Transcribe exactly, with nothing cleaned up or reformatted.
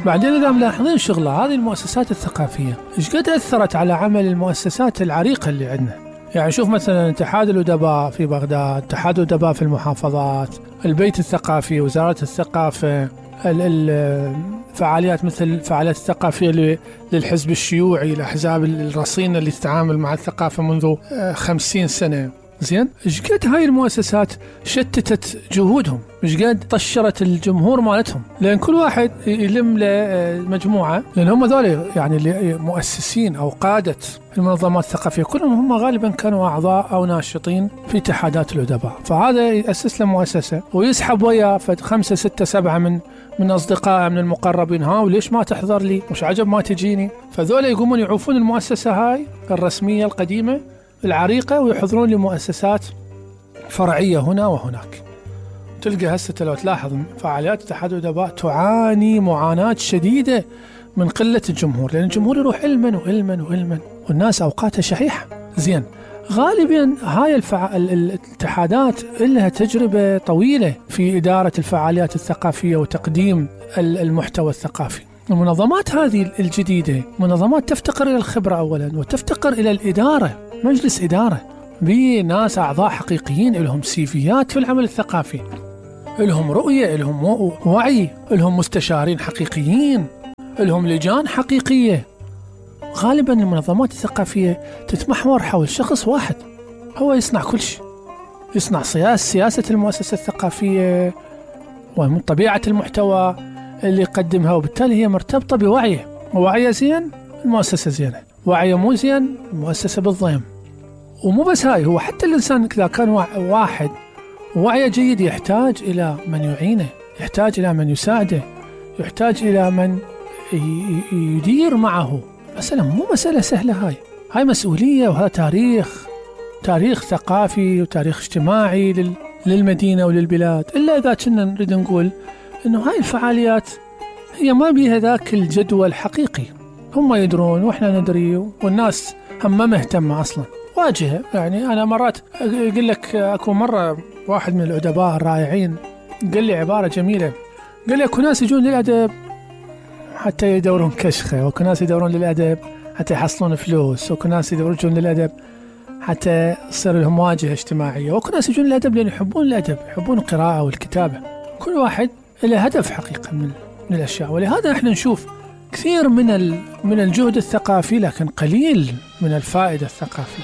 بعدين إذا ملاحظين شغلة هذه المؤسسات الثقافية إيش قد أثرت على عمل المؤسسات العريقة اللي عندنا. يعني شوف مثلا اتحاد الأدباء في بغداد، اتحاد الأدباء في المحافظات، البيت الثقافي، وزارة الثقافة، الفعاليات مثل الفعاليات الثقافية للحزب الشيوعي، الأحزاب الرصينة اللي تتعامل مع الثقافة منذ خمسين سنة. زين، إيش قد هاي المؤسسات شتتت جهودهم، إيش قد طشرت الجمهور مالتهم، لأن كل واحد يلم لمجموعة، لأن هم ذولي يعني اللي مؤسسين أو قادة المنظمات الثقافية كلهم هم غالبا كانوا أعضاء أو ناشطين في اتحادات الأدباء. فهذا يأسس له مؤسسة ويسحب وياه خمسة ستة سبعة من من أصدقائه من المقربين، ها وليش ما تحضر لي، مش عجب ما تجيني. فذولا يقومون يعوفون المؤسسة هاي الرسمية القديمة العريقة ويحضرون لمؤسسات فرعية هنا وهناك. تلقى هسه لو تلاحظ فعاليات اتحاد الأدباء تعاني معاناة شديدة من قلة الجمهور، لأن الجمهور يروح علما وعلما وعلما والناس أوقاتها شحيحة. زين، غالبا هاي الفع... الاتحادات لها تجربة طويلة في إدارة الفعاليات الثقافية وتقديم المحتوى الثقافي. المنظمات هذه الجديدة منظمات تفتقر إلى الخبرة أولا، وتفتقر إلى الإدارة، مجلس إدارة بناس أعضاء حقيقيين لهم سيفيات في العمل الثقافي، لهم رؤية، لهم وعي، لهم مستشارين حقيقيين، لهم لجان حقيقية. غالبا المنظمات الثقافية تتمحور حول شخص واحد هو يصنع كل شيء، يصنع سياسة سياسة المؤسسة الثقافية ومن طبيعة المحتوى اللي يقدمها، وبالتالي هي مرتبطة بوعيه، ووعيه زين المؤسسة زينة، وعيه مو زين المؤسسة بالضيم. ومو بس هاي، هو حتى الإنسان إذا كان واحد وعيه جيد يحتاج إلى من يعينه، يحتاج إلى من يساعده، يحتاج إلى من يدير معه. مسألة مو مسألة سهلة، هاي هاي مسؤولية، وهذا تاريخ تاريخ ثقافي وتاريخ اجتماعي للمدينة وللبلاد. إلا إذا كنا نريد نقول إنه هاي الفعاليات هي ما بيها ذاك الجدوى الحقيقي، هم يدرون وإحنا ندري والناس هم ما مهتمة أصلا واجهة. يعني أنا مرات أقول لك، أكو مرة واحد من الأدباء الرائعين قال لي عبارة جميلة، قال لي أكو ناس يجون للأدب حتى يدورون كشخة، وأكو ناس يدورون للأدب حتى يحصلون فلوس، وأكو ناس يدورون للأدب حتى يصير لهم واجهة اجتماعية، وأكو ناس يجون للأدب لأن يحبون الأدب، يحبون القراءة والكتابة. كل واحد له هدف حقيقة من من الأشياء. ولهذا احنا نشوف كثير من من الجهد الثقافي لكن قليل من الفائدة الثقافية.